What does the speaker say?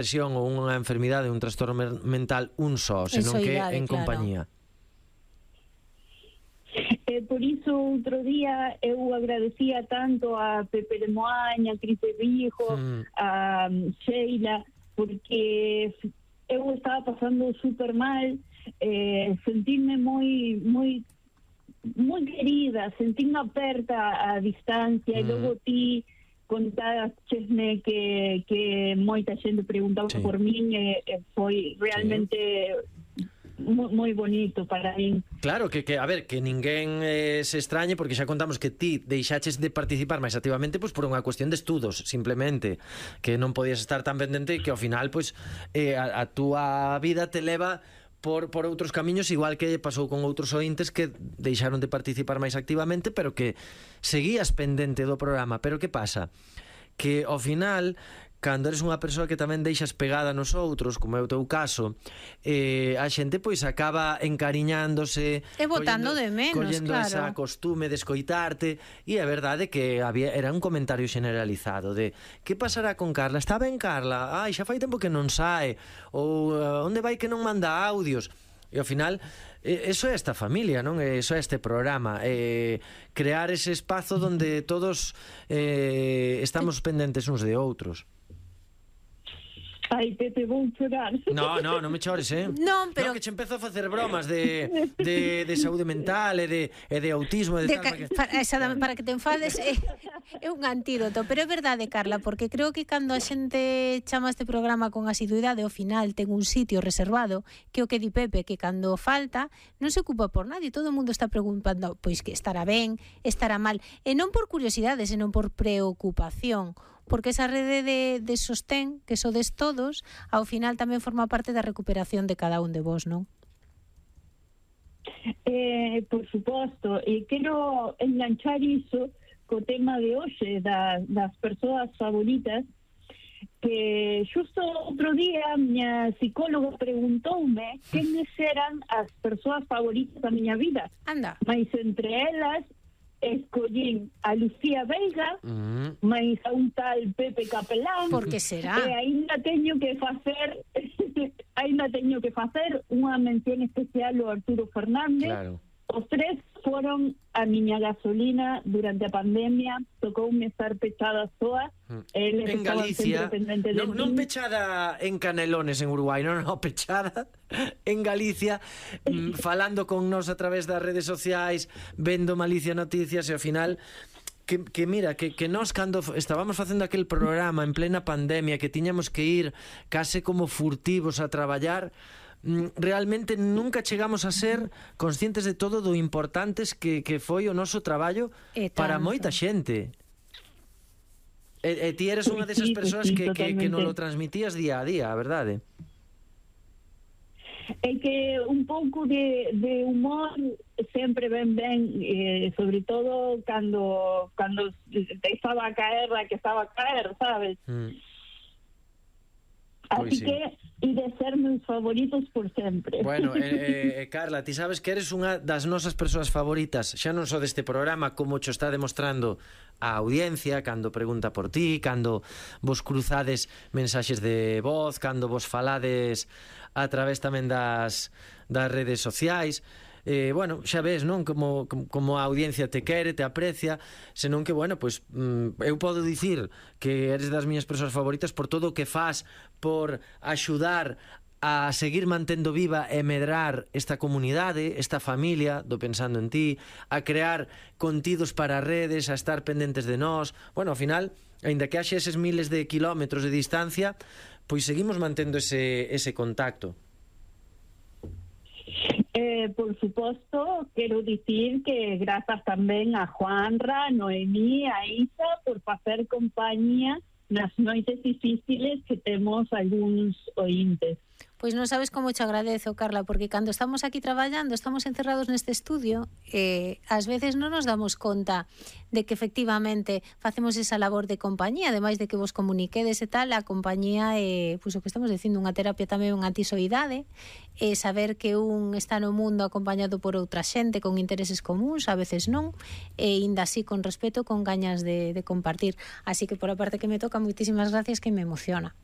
depresión ou unha enfermidade, un trastorno mental un só, senón que en compañía. Por iso, outro día, eu agradecía tanto a Pepe de Moaña, a Cris de Rijo, a Sheila, porque eu estaba pasando super mal, sentirme moi querida, sentirme aperta a distancia, e logo ti contaxesme que moita xente preguntaba por min, foi realmente moi bonito para min. Claro, que a ver, que ninguén se extrañe, porque xa contamos que ti deixaches de participar máis activamente pois por unha cuestión de estudos, simplemente, que non podías estar tan pendente e que ao final pois a túa vida te leva por outros camiños, igual que pasou con outros ointes que deixaron de participar máis activamente, pero que seguías pendente do programa. Pero que pasa? Que ao final, cando eres unha persoa que tamén deixas pegada nos outros, como é o teu caso, a xente pois acaba encariñándose e botando de menos, collendo esa costume de escoitarte. E é verdade que era un comentario generalizado de que pasará con Carla? Está ben Carla? Ai, xa fai tempo que non sae. Ou onde vai que non manda audios? E ao final eso é esta familia, non? Eso é este programa, crear ese espazo donde todos estamos pendentes uns de outros. Ai, Pepe, vou chorar. Non me chores, Non, pero... que che empezo a facer bromas de saúde mental e de autismo e de tal, para que te enfades é un antídoto. Pero é verdade, Carla, porque creo que cando a xente chama este programa con asiduidade, ao final ten un sitio reservado, que o que di Pepe, que cando falta non se ocupa por nadie, todo o mundo está preguntando pois que estará ben, estará mal, e non por curiosidade, senón por preocupación, porque esa rede de sostén que sodes todos, ao final tamén forma parte da recuperación de cada un de vos, non? Por suposto, e quero enganchar iso co tema de hoxe das persoas favoritas, que xusto outro día a miña psicóloga preguntoume quenes eran as persoas favoritas da miña vida. Anda. Mais entre elas escollín a Lucía Veiga, máis a un tal Pepe Capelán. Por que será? E aínda teño que facer unha mención especial ao Arturo Fernández. Claro. Os tres foron a miña gasolina durante a pandemia, tocoume estar pechada soa. En Galicia, non pechada en Canelones en Uruguai, non, pechada en Galicia, falando con nós a través das redes sociais, vendo Malicia Noticias, e ao final que mira, que nós cando estábamos facendo aquel programa en plena pandemia, que tiñamos que ir case como furtivos a traballar, realmente nunca chegamos a ser conscientes de todo do importantes que foi o noso traballo para moita xente. E ti eres unha desas persoas que non lo transmitías día a día, a verdade? É que un pouco de humor sempre ben, sobre todo cando estaba a caer la que estaba a caer, sabes? Así que e de ser meus favoritos por sempre. Bueno, Carla, ti sabes que eres unha das nosas persoas favoritas, xa non só deste programa, como cho está demostrando a audiencia cando pregunta por ti, cando vos cruzades mensaxes de voz, cando vos falades a través tamén das redes sociais. Bueno, xa ves, non? Como a audiencia te quere, te aprecia, senón que, bueno, pois eu podo dicir que eres das miñas persoas favoritas por todo o que fas, por axudar a seguir mantendo viva e medrar esta comunidade, esta familia do Pensando en Ti, a crear contidos para redes, a estar pendentes de nós. Bueno, ao final, aínda que haxe eses miles de kilómetros de distancia, pois seguimos mantendo ese contacto. Por suposto, quero dicir que grazas tamén a Juanra, a Noemí, a Isa por facer compañía nas noites difíciles que temos algúns ointes. Pois non sabes como te agradezo, Carla, porque cando estamos aquí traballando, estamos encerrados neste estudio, ás veces non nos damos conta de que efectivamente facemos esa labor de compañía, ademais de que vos comuniquedes e tal, a compañía é, pois o que estamos dicindo, unha terapia tamén, unha antisoidade, e saber que un está no mundo acompañado por outra xente con intereses comuns, a veces non, e ainda así con respeto, con gañas de compartir. Así que por a parte que me toca, moitísimas gracias, que me emociona.